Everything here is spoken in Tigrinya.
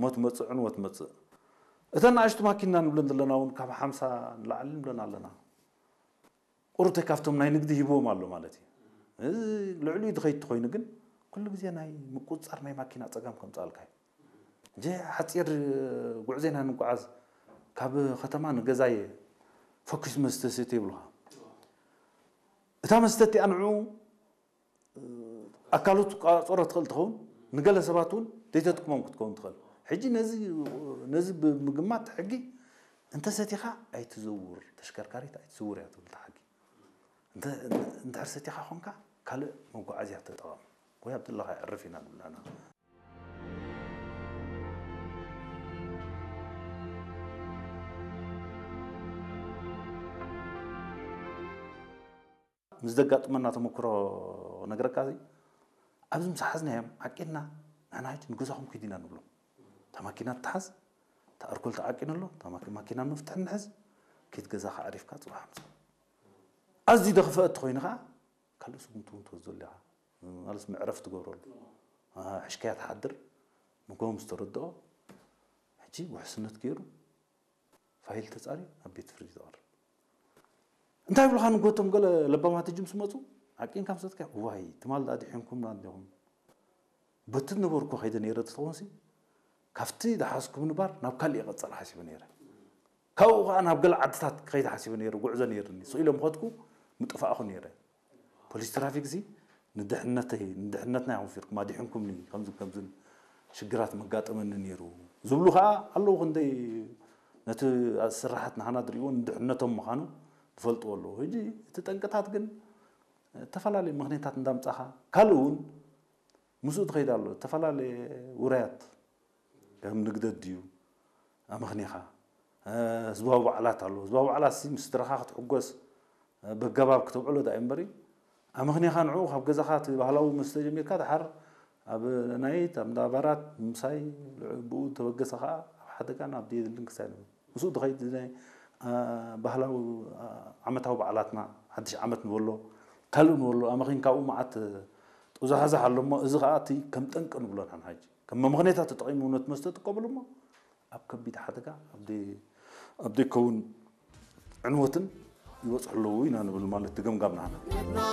ሞት መጽእ፣ ዕንወት መጽእ። እተን ንኣሽቱ ማኪና ንብለን ዘለና እውን ካብ ሓምሳ ንላዕሊ ንብለን ኣለና። ቁሩተይ ካብቶም ናይ ንግዲ ሂብዎም ኣሎ ማለት እዩ። እዚ ልዕሊኡ ዝኸይድ ተኾይኑ ግን ኩሉ ግዜ ናይ ምቁጽጻር ናይ ማኪና ጸገም ከምጽኣልካ እዩ። እንጂ ሓጺር ጉዕዞ ኢና ንጓዓዝ። ካብ ከተማ ንገዛየ ፈኲስ መስተ ስተ ይብሉኻ። እታ መስተ እቲኣ ንዕኡ ኣካሉ ትቋጸሮ ትኽእል ትኸውን፣ ንገለ ሰባት እውን ዘይተጥቅሞም ክትከውን ትኽእል። ሕጂ ነዚ ነዚ ብምግማት ሕጊ እንተሰቲኻ ኣይትዘውር፣ ተሽከርካሪት ኣይትዝውር እያ ትብል እታ ሕጊ። እንተ እንድሕር ሰቲኻ ኾንካ ካልእ መጓዓዝያ ተጠቐም ወይ ኣብ ዘለኻ ኣዕርፍ ኢና ንብላና። ምስ ዘጋጥመና ተመክሮ ነግረካ እዚ ኣብዚ ምስ ሓዝናዮም ዓቂንና ንሕና ሕጂ ንገዛኹም ኪድ ኢና ንብሎም። እታ ማኪና ትሓዝ፣ እታ ኣርኮል ተዓቂኑ ኣሎ፣ እታ ማኪ- ማኪና መፍትሒ ንሕዝ፣ ኪድ ገዛኻ ኣሪፍካ ጽባሕ ምሳ። ኣዝዩ ደኽፈ እትኾይኑ ኸዓ ካልእ ስጉምቲ እውን ትወስደሉ ኢኻ። ማለት መዕረፍ ትገብረሉ። ኣሃ፣ ሕሽካያ ትሓድር፣ ንጎም ዝተረድኦ ሕጂ ውሕስነት ገይሩ ፋይል ተጻርዩ ኣብ ቤት ፍርዲ ተቐርብ። እንታይ ይብሉኻ ንጎቶም ገለ ለባማት ሕጂ ምስ መጹ ዓቂንካ ምስ መጽካ ዋይ ትማል ዳ ድሒንኩምና እንዲኹም በቲ ነበርኩ ከይደ ነይረ ተትኾንሲ ካብቲ ዝሓዝኩ ምንባር ናብ ካልእ ይቐጸል ሓሲበ ነይረ። ካብኡ ከዓ ናብ ገለ ዓድታት ክኸይድ ሓሲበ ነይረ፣ ጉዕዞ ነይርኒ። ስቕ ኢሎም ከድኩ ምጠፋእኹ ነይረ። ፖሊስ ትራፊክ እዚ ንድሕነተይ ንድሕነትና ኢኹም ፊርኩም ኣዲሕንኩምኒ ከምዚ ከምዝን ሽግራት መጋጠመኒ ነይሩ ዝብሉ ከዓ ኣለዉ። ክንደይ ነቲ ስራሓት ናህና ዝርእይዎ ንድሕነቶም ምዃኑ ዝፈልጥዎ ኣለዉ። ሕጂ እቲ ጠንቅታት ግን ዝተፈላለዩ ምኽንያታት እንዳምጻኻ ካልእ እውን ምስኡ ትኸይድ ኣሎ። ዝተፈላለየ ውራያት ከም ንግደት ድዩ ኣመኽኒኻ ህዝባዊ በዓላት ኣሎ። ህዝባዊ በዓላት ሲ ምስ ስድራኻ ክትሕጎስ በገባብ ክተብዕሎ ዳ እምበሪ ኣመኽኒኻ ንዕኡ ካብ ገዛኻ እቲ ባህላዊ መስተ ጀሚርካ ድሓር ኣብ ናይት ኣብ እንዳባራት ምሳይ ብኡ ተበገሰ ከዓ ኣብ ሓደጋን ኣብ ደየድልን ክሳይ ንብል ምስኡ ድኸይድ ናይ ባህላዊ ዓመታዊ በዓላትና ሓድሽ ዓመት ንበሎ ካልእ ንበሎ ኣመኺን ካብኡ መዓት ጡዛሕዛሕ ኣሎ እሞ እዚ ከዓ እቲ ከም ጠንቂ ንብሎ ንሕና ሕጂ ከም መምኽኔታት ተጠቒሙ ነቲ መስተ ጥቀምሉ እሞ ኣብ ከቢድ ሓደጋ ኣብ ደይ- ኣብ ደይከውን ዕንወትን ይበፅሑ ኣለዉ ኢና ንብል ማለት እቲ ገምጋም ናህና።